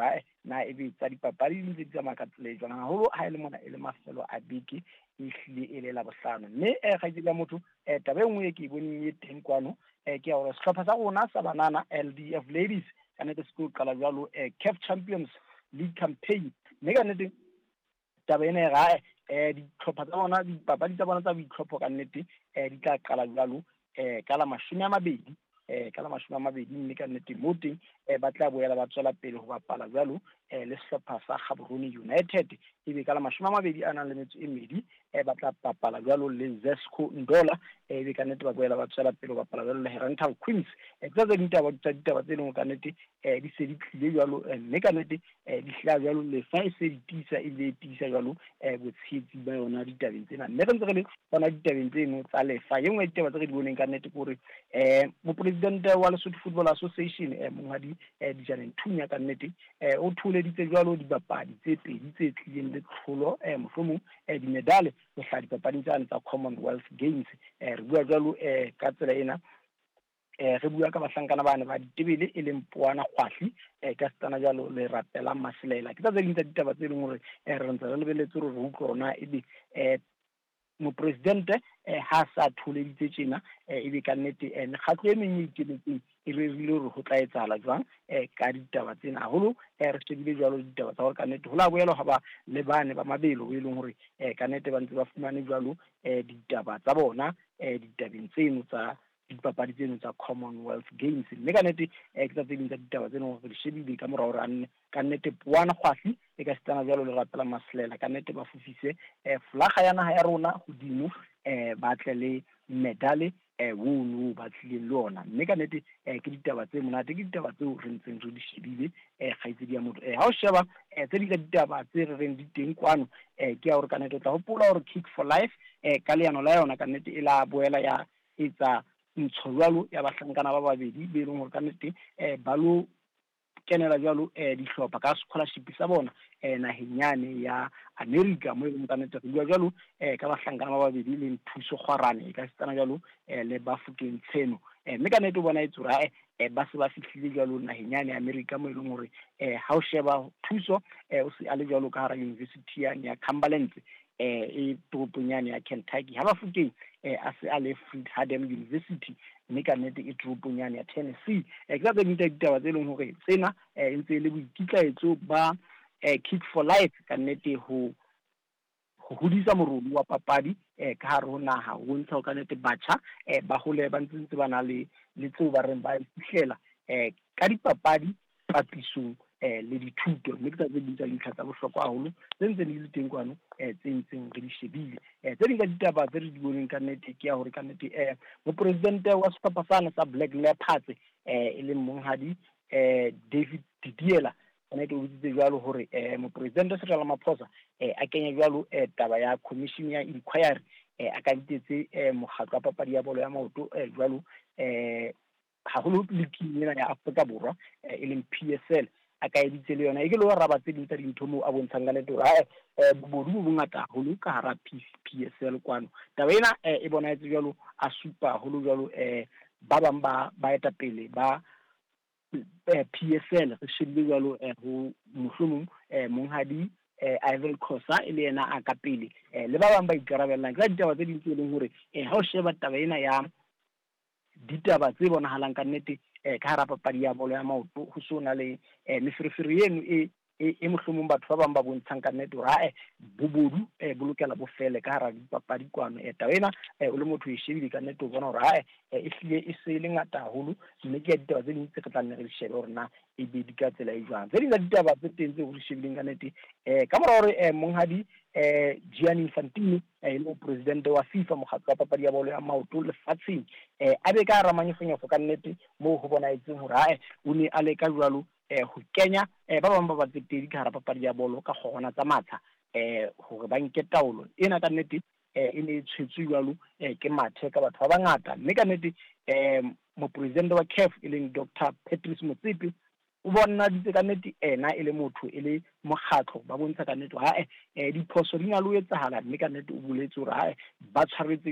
Ae, na ebe tsa dipapadi di ntse di tsamaya ka tsela e jwang, haholo ha e le mona e le mafelo a beke, e hlile e le Labohlano. Mme kgaitsedi ya motho, taba e nngwe e ke e boneng e teng kwano, ke ya hore sehlopha sa rona sa banana LDF Ladies ka nnete se tlo qala jwalo CAF Champions League campaign, mme ka nnete taba ena e re ae ditlhopha tsa bona, dipapadi tsa bona tsa boitlhopho ka nnete di tla qala jwalo ka la 20, ka la 20, mme ka nnete moo teng ba tla boela ba tswela pele ho bapala jwalo le sehlopha sa Gaborone United, ebe ka la 22 ba tla bapala jwalo le Zesco Ndola, ebe ka nnete ba boela ba tswela pele ho bapala jwalo le Herentals Queens. Ke tsa tse ding taba tsa ditaba tse leng hore ka nnete di se di tlile jwalo, mme ka nnete di hlaha jwalo lefa e se di tiisa, ebile e tiisa jwalo botshehetsi ba yona ditabeng tsena. Mme re ntse re le hona ditabeng tseno tsa lefa, e nngwe ya ditaba tse re di boneng ka nnete ke hore mopresidente wa Lesotho Football Association monghadi Dijane Nthunya ka nnete o thoholeditse jwalo dibapadi tse pedi tse tlileng le tlholo, mohlomong dimedale ho hlaha dipapading tsane tsa Commonwealth Games. Re bua jwalo ka tsela ena, re bua ka bahlankana bane ba ditebele e leng Poana Kgwahli, ka setsana jwalo le Rapelang Masilela. Ke tsa tse ding tsa ditaba tse leng hore re ntse re lebeletse hore re utlwe hore na ebe mopresidente ha sa thoholeditse tjena, ebe ka nnete mekgatlo e meng e ikemetseng e rerile hore ho tla etsahala jwang ka ditaba tsena. Haholo re shebile jwalo ditaba tsa hore ka nnete ho la boela hwa ba le bane ba mabelo e leng hore ka nnete ba ntse ba fumane jwalo ditaba tsa bona ditabeng tseno tsa dipapadi tseno tsa Commonwealth Games. Mme ka nnete ke tsa tse ding tsa ditaba tse leng hore re di shebile ka mora hore a nne ka nnete Poana Kgwahli e ka setsana jwalo le Rapela Masilela ka nnete ba fofise flaga ya naha ya rona hodimo, ba tle le medale ono ba tlileng le ona. Mme ka nnete ke ditaba tse monate, ke ditaba tseo re ntseng re di shebile kgaitsedi ya motho. Ha o sheba tse ding tsa ditaba tse re reng di teng kwano, ke ya hore ka nnete o tla hopola hore Kick for Life ka leano la yona ka nnete e la boela ya etsa ntsho jwalo ya bahlankana ba babedi be leng hore ka nnete ba lo kenela jwalo dihlopha ka scholarship sa bona naheng yane ya America, mo e leng ka nnete re bua jwalo ka bahlankana ba babedi leng Thuso Kgwarane e ka setsana jwalo le Bafokeng Tsheno. Mme ka nnete o bona etse hore ba se ba fihlile jwalo naheng yane ya America, mo e leng hore ha o sheba Thuso o se a le jwalo ka hara university yane ya Cumberland e toropong yane ya Kentucky, ha Bafokeng a se a le Freed-Hardeman University, mme ka nnete e toropong yane ya Tennessee. Ke tsa tse ding tsa ditaba tse leng hore tsena e ntse e le boikitlaetso ba Kick for Life ka nnete ho hodisa moruo wa papadi ka hare ho naha, ho bontsha hore ka nnete batjha ba hole ba ntse ba na le tseo ba reng ba fihlela ka dipapadi papisong le dithuto. Mme ke tsa tse ding tsa dintlha tsa bohlokwa haholo tse ntseng di le teng kwano tse ntseng re di shebile. Tse ding tsa ditaba tse re di boneng ka nnete ke ya hore ka nnete mopresidente wa sehlopha sane sa Black Leopards e leng monghadi David Didiela, ka nnete o botsitse jwalo hore mopresidente Cyril Ramaphosa a kenye jwalo taba ya commission ya inquiry, a ka bitetse mokgatlo wa papadi ya bolo ya maoto jwalo haholo league ena ya Afrika Borwa e leng PSL, a ka editse le yona e ke le raba tse ding tsa dintho moo a bontshang ka nnete hore ae bobodu bo bongata haholo ka hara PSL kwano. Taba ena e bonahetse jwalo a supa haholo jwalo ba bang ba baetapele ba PSL, re shebile jwalo ho mohlomong monghadi Ivan Khosa e le yena a ka pele le ba bang ba ikarabellang. Ke ditaba tse ding tse leng hore ha o sheba taba ena ya ditaba tse bonahalang ka nnete ka hara papadi ya bolo ya maoto, ho so na le meferefere eno e mohlomong batho ba bang ba bontshang ka nnete hore ae bobodu bo lokela bo fele ka hara dipapadi kwano. Taba ena o le motho e shebile ka nnete o bona hore ae e hlile e se le ngata haholo, mme ke ya ditaba tse ding tse re tla nne re di shebe hore na e be di ka tsela e jwang. Tse ding tsa ditaba tse teng tseo re di shebileng ka nnete ka mora hore monghadi Gianni Infantino e le mopresidente wa FIFA, mokgatlo wa papadi ya bolo ya maoto lefatsheng, a be ka hara manyofonyofo ka nnete moo ho bonahetseng hore ae o ne a leka jwalo ho kenya ba bang ba batsetedi ka hara papadi ya bolo ka kgorwana tsa matsha hore ba nke taolo ena. Ka nnete e ne e tshwetswe jwalo ke mathe ka batho ba bangata, mme ka nnete mopresidente wa CAF e leng Dr Patrice Motsepe o bonaditse ka nnete ena e le motho e le mokgatlo, ba bontsha ka nnete hore ae diphoso di na le ho etsahala, mme ka nnete o boletse hore ae ba tshwaretse